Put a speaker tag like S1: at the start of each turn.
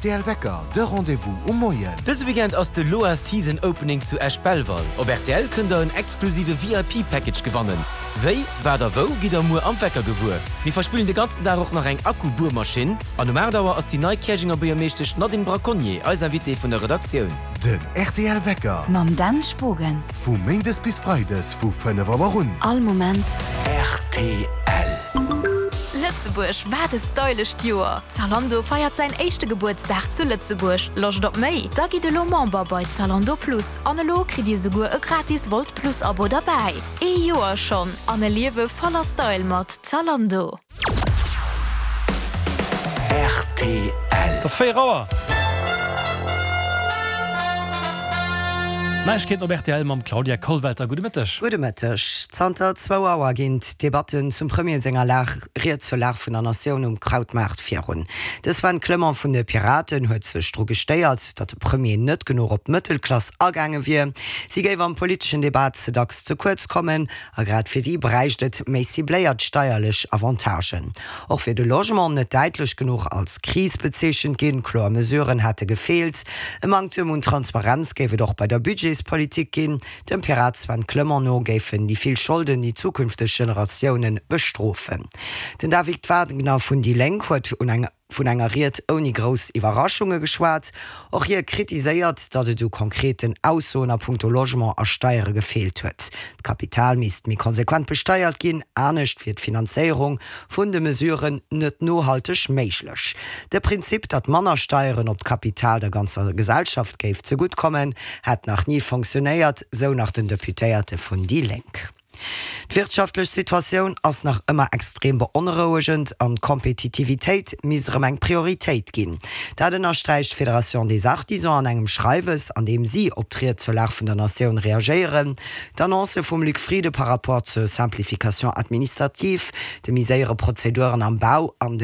S1: rtl Wecker, de Rendez-vous um Moien.
S2: Dëse Weekend ass de Loa Season Opening zu Esch-Belval. Op rtl kënnt der en exklusive VIP Package gewannen. Wéi, wat a wou gitt der muer am Wecker gewuer. Mir verspillen de ganzen Dag och nach eng Akku-Buermaschinn. An um 8 Auer ass déi nei Käerjenger Buergermeeschtesch Nadine Braconnier eis Invitée vun der Redaktioun.
S1: Den rtl Wecker.
S3: Mam Dan Spogen.
S1: Vu Méindes bis Freides vu 5 Auer un.
S3: All Moment.
S1: Rtl.
S4: Lëtzebuerg, wat e stylescht Joer! Zalando feiert säin éischte Gebuertsdag zu Lëtzebuerg. Loscht op méi? Da gitt elo Member bei Zalando Plus an elo kritt dir souguer e gratis Wolt Plus Abo derbäi. Ee Joer schonn an e Liewe voller Style mat Zalando.
S1: Rtl.
S5: Et ass 4 Auer. Neiegkeeten op rtl mam Claudia Kollwelter. Gudde Mëtteg.
S6: Gudde Mëtteg. Zanter zwou Auer ginn d'Debatten zum Premier senger Lag Ried zur Lag vun der Natioun um Krautmaart virun. De Sven Clement vun de Piraten huet sech dru gestéiert, datt de Premier net genuch op d'Mëttelklass agaange wier. Si géif am politeschen Debat ze dacks ze kuerz kommen. A grad fir si bräicht et méi cibléiert steierlech Avantagen. Och wier de Logement net däitlech genuch als Kris bezeechent ginn, kloer Mesuren hätte gefeelt. E Manktem un Transparenz géif et och bei der Budgetspolitik ginn. Dem Pirat Sven Clement no géifen déi vill Scholden déi zukünfteg Generatioune bestrofen. Den David Wagner vun déi Lénk huet un eng. Vun enger Ried ouni grouss Iwwerraschunge geschwat. Och hie kritiséiert, datt et u konkreten Aussoen a punkto Logement a Steiere gefeelt huet. D'Kapital misst méi konsequent besteiert ginn, anescht wier d'Finanzéierung vun de Mesuren net nohalteg méiglech. De Prinzip, datt manner Steieren op d'Kapital der ganzer Gesellschaft géif zegutt kommen, hätt nach ni fonctionéiert, sou nach den Deputéierte vun déi Lénk. D'wirtschaftlech Situatioun ass nach ëmmer extrem beonrouegend an d'Kompetitivitéit misst erëm eng Prioritéit ginn. Dat ënnersträicht d'Fédération des Artisans an engem Schreiwes, an deem si op d'Ried zur Lag vun der Natioun reagéieren. D'Annoncë vum Luc Frieden par rapport zur Simplification administrative, de méi séiere Prozeduren am Bau an de.